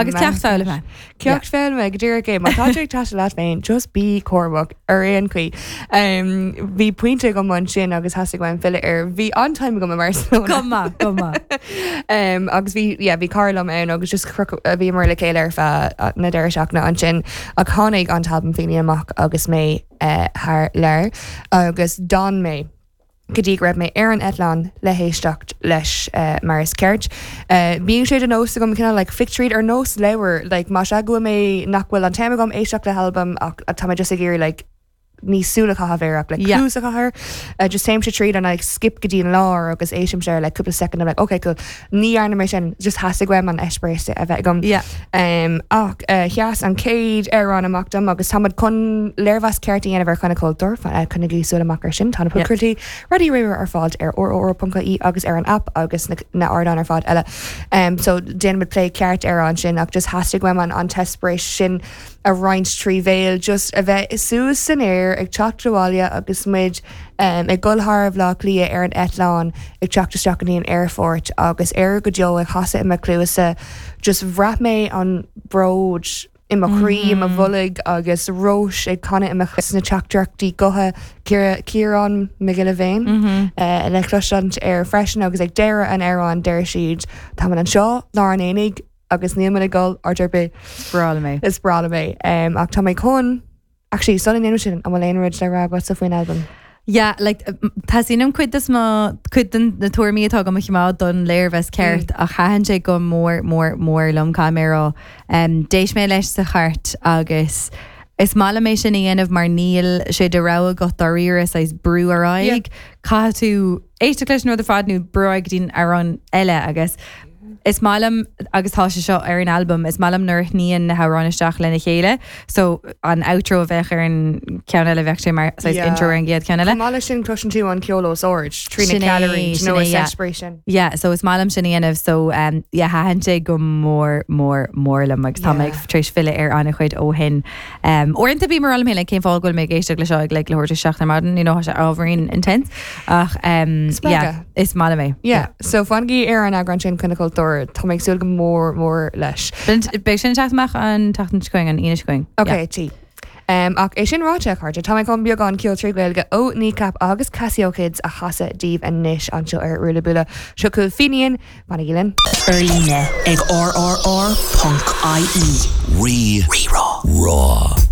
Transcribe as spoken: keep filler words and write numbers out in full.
Agus ceacht foghlama. Ceacht foghlama go díreach é má tá tú ag taisteal leat féin just bí cúramach ar aon chaoi. Um, bhí pointe agam ansin agus theastaigh uaim filleadh air bhí an-time agam i Barcelona. Go maith, go maith. um, agus bhí yeah, bhí cara liom ann agus just bhí mar le chéile ar feadh na deireadh seachtaine ansin ach tháinig an t-albam Fínín amach agus mé uh, thar lear agus d'fhan mé go dtí go raibh mé ar an eitleán le héisteacht leis uh, mar is ceart. Uh, Bíonn sé de nós agam cineál like, flick tríd ar nós leabhar like, má sé go mé nach bhfuil an t-am agam éisteacht le halbam ach tá mé just ag iarraidh like, ní súil a chaitheamh air like, Yeah. cluas a chaitheamh uh, just téim sé tríd an like, skip go dtí an lár agus éistim sé like, cúpla second I'm like, okay, cool. Ní dhearna mé sin just theastaigh uaim an eispéireas a bheith agam. Yeah. Um, ach uh, sheas an chéad amhrán amach dom agus táimid chun léirmheas ceart a dhéanamh ar Choinne Cultúr coinnigí súil amach ar sin tá Yeah. podchraoltaí Raidió Rí-Rá ar fáil ar rrr.ie agus ar an app agus na, na hardáin ar fad eile. Um, so déanfaimid plé ceart ar ansin ach just theastaigh uaim an an t-eispéireas sin a roinnt trí bhéal just a bheith suas san aer ag teacht abhaile agus muid um, ag dul thar Bhaile Átha Cliath ar an eitleán ag teacht isteach go dtí an aerfort agus Éire go deo ag chasadh i mo chluasa just bhraith mé an bród i mo chroí i mo bholg agus Róis ag canadh i mo na teachtaireachtaí gutha Ciarán Mac Giolla Bhéin uh, le cloisteáil air freisin agus ag deireadh an amhráin deir siad Tá anseo lár an aonaigh agus níl muid ag dul áit ar bith Breá liom é. is breá liom é um, ach tá mé chun Actually, sula ndéanaim sin an bhfuil aon rud le rá agatsa faoin albam. Yeah, like Tá an cuid is mo cuid den na tuairimí atá go chimeá don léirmheas ceart a thaitin sé go mór mór mór liom caimérá. Um, D'éist mé leis sa chairt agus is maith liom é sin a dhéanamh mar níl sé de rogha agat dáiríre is brú ar aghaidh. Caithfidh tú éisteacht leis an rud ar fad nó brú go dtí amhrán eile agus Is maith liom agus tá sé seo ar an album, is maith liom nuair a shníonn na hamhráin isteach lena chéile, so an outro a bheith ar an ceann eile bheadh sé mar Yeah. intro ar an gcéad ceann eile. Chomh maith leis sin cloiseann tú an ceol os ard trí na Sin é, ceallairí sin nó é, yeah. separation. Yeah, so is maith liom sin a dhéanamh so um, yeah, thaitin sé go mór mór mór liom agus tá mé Yeah. tar éis filleadh ar an-chuid ó shin. Um, Uaireanta bím mar mé cén fáth go bhfuil mé ag éisteacht le seo ag like, leathuair tar éis seacht ar maidin, you know, tá sé ábhairín intense ach um, Spreagadh. yeah, is maith liom é. Yeah, so fanaigí ar an eagrán sin Coinne Cultúr tá mé ag súil go mór mór leis. Beidh sin teacht amach an tseachtain seo chugainn an Aoine seo chugainn. Ok, tí. Um, ach é sin ráite cairde tá mé chun beagán ceoil trí Ghaeilge ó Kneecap agus Casio Kids a chasadh daoibh anois anseo ar Ruaille Buaile. Seo chugaibh Fínín fanaigí linn. Ar líne ag rrr.ie. Rí Rí Rá. Rá.